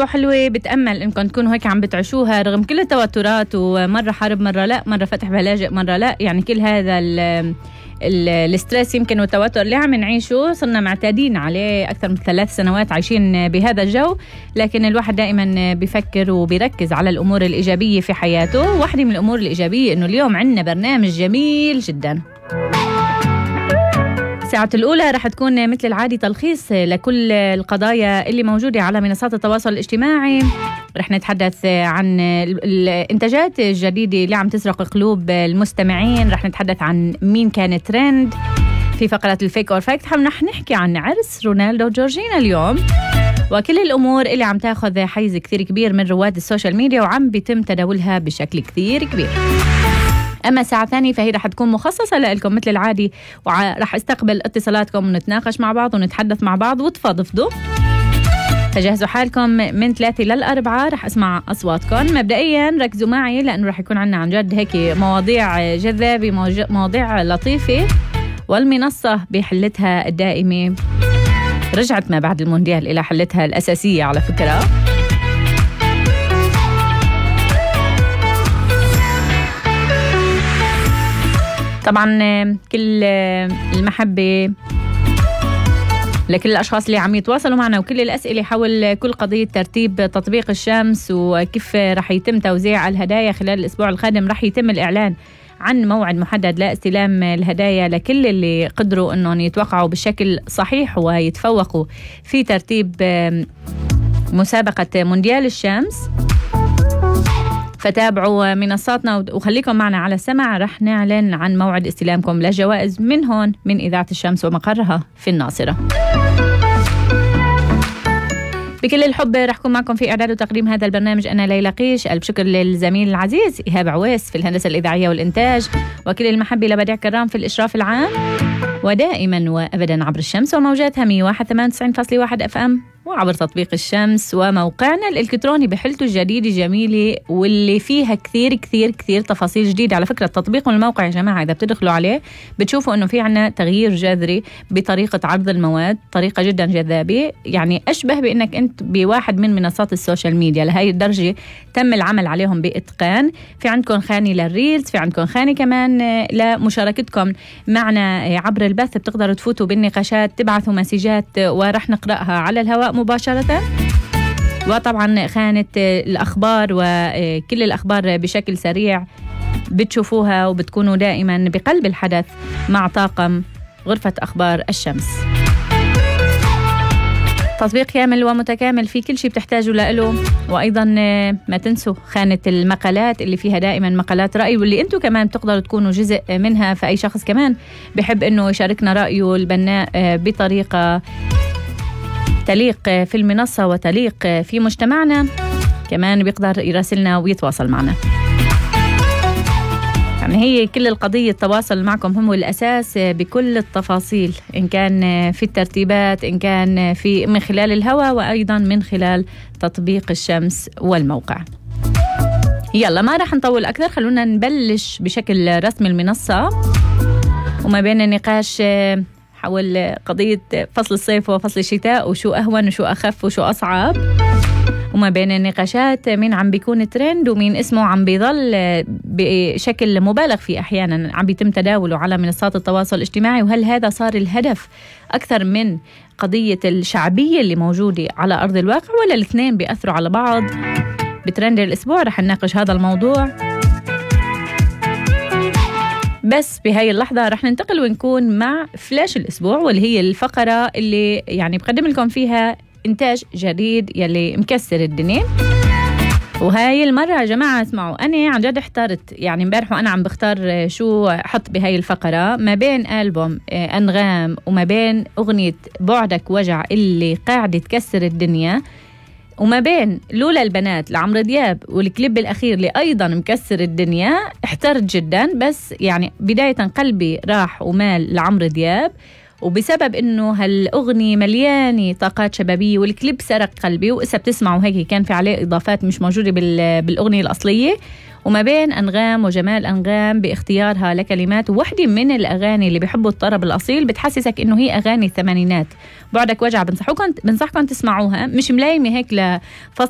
حلوة. بتأمل إنكم تكونوا هيك عم بتعيشوها رغم كل التوترات، ومرة حرب مرة لا، مرة فتح بلاجئ مرة لا. يعني كل هذا الستريس يمكن والتوتر اللي عم نعيشه صرنا معتادين عليه أكثر من 3 سنوات عايشين بهذا الجو. لكن الواحد دائما بيفكر وبيركز على الأمور الإيجابية في حياته. واحدة من الأمور الإيجابية إنه اليوم عندنا برنامج جميل جدا. الساعة الأولى رح تكون مثل العادي تلخيص لكل القضايا اللي موجودة على منصات التواصل الاجتماعي. رح نتحدث عن الإنتاجات الجديدة اللي عم تسرق قلوب المستمعين. رح نتحدث عن مين كان ترند في فقرة الفيك أور فاكت. رح نحكي عن عرس رونالدو وجورجينا اليوم، وكل الأمور اللي عم تاخذ حيز كثير كبير من رواد السوشيال ميديا وعم بيتم تداولها بشكل كثير كبير. أما الساعة الثانية فهي رح تكون مخصصة لكم مثل العادي، ورح استقبل اتصالاتكم ونتناقش مع بعض ونتحدث مع بعض وتفضفضوا. فجهزوا حالكم من 3 ل4 رح أسمع أصواتكم. مبدئيا ركزوا معي لأنه رح يكون عنا عن جد هيك مواضيع جذابة، مواضيع لطيفة، والمنصة بحلتها الدائمة رجعت ما بعد المونديال إلى حلتها الأساسية على فكرة. طبعا كل المحبة لكل الأشخاص اللي عم يتواصلوا معنا، وكل الأسئلة حول كل قضية ترتيب تطبيق الشمس وكيف رح يتم توزيع الهدايا خلال الأسبوع القادم. رح يتم الإعلان عن موعد محدد لاستلام الهدايا لكل اللي قدروا أنهم يتوقعوا بشكل صحيح ويتفوقوا في ترتيب مسابقة مونديال الشمس. فتابعوا منصاتنا وخليكم معنا على السمع. رح نعلن عن موعد استلامكم للجوائز من هون من إذاعة الشمس ومقرها في الناصرة. بكل الحب رح أكون معكم في إعداد وتقديم هذا البرنامج أنا ليلى قيش. ألف شكر للزميل العزيز إيهاب عويس في الهندسة الإذاعية والإنتاج، وكل المحبة لبديع كرام في الإشراف العام، ودائما وأبدا عبر الشمس وموجاتها 101.9.1 FM وعبر تطبيق الشمس وموقعنا الإلكتروني بحلته الجديدة جميلة واللي فيها كثير كثير كثير تفاصيل جديدة. على فكرة التطبيق والموقع يا جماعة إذا بتدخلوا عليه بتشوفوا أنه في عنا تغيير جذري بطريقة عرض المواد، طريقة جدا جذابة، يعني أشبه بأنك أنت بواحد من منصات السوشيال ميديا. لهي الدرجة تم العمل عليهم بإتقان. في عندكم خانة للريلز، في عندكم خانة كمان لمشاركتكم معنا عبر البث، بتقدروا تفوتوا بالنقاشات، تبعثوا مسيجات ورح نقرأها على الهواء مباشرة. وطبعا خانة الأخبار وكل الأخبار بشكل سريع بتشوفوها وبتكونوا دائما بقلب الحدث مع طاقم غرفة أخبار الشمس. تطبيق كامل ومتكامل في كل شيء بتحتاجوا له. وأيضا ما تنسوا خانة المقالات اللي فيها دائما مقالات رأي، واللي أنتوا كمان بتقدروا تكونوا جزء منها. فأي شخص كمان بحب أنه يشاركنا رأيه البناء بطريقة تليق في المنصة وتليق في مجتمعنا، كمان بيقدر يراسلنا ويتواصل معنا. يعني هي كل القضية التواصل معكم هو الأساس بكل التفاصيل، إن كان في الترتيبات، إن كان في من خلال الهواء، وأيضا من خلال تطبيق الشمس والموقع. يلا ما راح نطول أكثر، خلونا نبلش بشكل رسمي المنصة. وما بين النقاش حول قضية فصل الصيف وفصل الشتاء وشو أهون وشو أخف وشو أصعب، وما بين النقاشات مين عم بيكون ترند ومين اسمه عم بيظل بشكل مبالغ فيه أحيانا عم بيتم تداوله على منصات التواصل الاجتماعي، وهل هذا صار الهدف أكثر من قضية الشعبية اللي موجودة على أرض الواقع، ولا الاثنين بيأثروا على بعض؟ بترند الأسبوع رح نناقش هذا الموضوع. بس بهاي اللحظة رح ننتقل ونكون مع فلاش الأسبوع، واللي هي الفقرة اللي يعني بقدم لكم فيها إنتاج جديد يلي مكسر الدنيا. وهاي المرة يا جماعة اسمعوا، أنا عن جد احترت يعني امبارح وأنا عم بختار شو حط بهاي الفقرة ما بين ألبوم أنغام وما بين أغنية بعدك وجع اللي قاعدة تكسر الدنيا، وما بين لولا البنات لعمرو دياب والكليب الأخير اللي أيضا مكسر الدنيا. احترت جدا، بس يعني بداية قلبي راح ومال لعمرو دياب، وبسبب إنه هالأغنية مليانة طاقات شبابية والكليب سرق قلبي، وإسا بتسمعوا هيك كان في عليه إضافات مش موجودة بالأغنية الأصلية. وما بين أنغام وجمال أنغام باختيارها لكلمات واحدة من الأغاني اللي بيحبوا الطرب الأصيل، بتحسسك إنه هي أغاني الثمانينات. بعدك وجع، بنصحكم تسمعوها، مش ملايمة هيك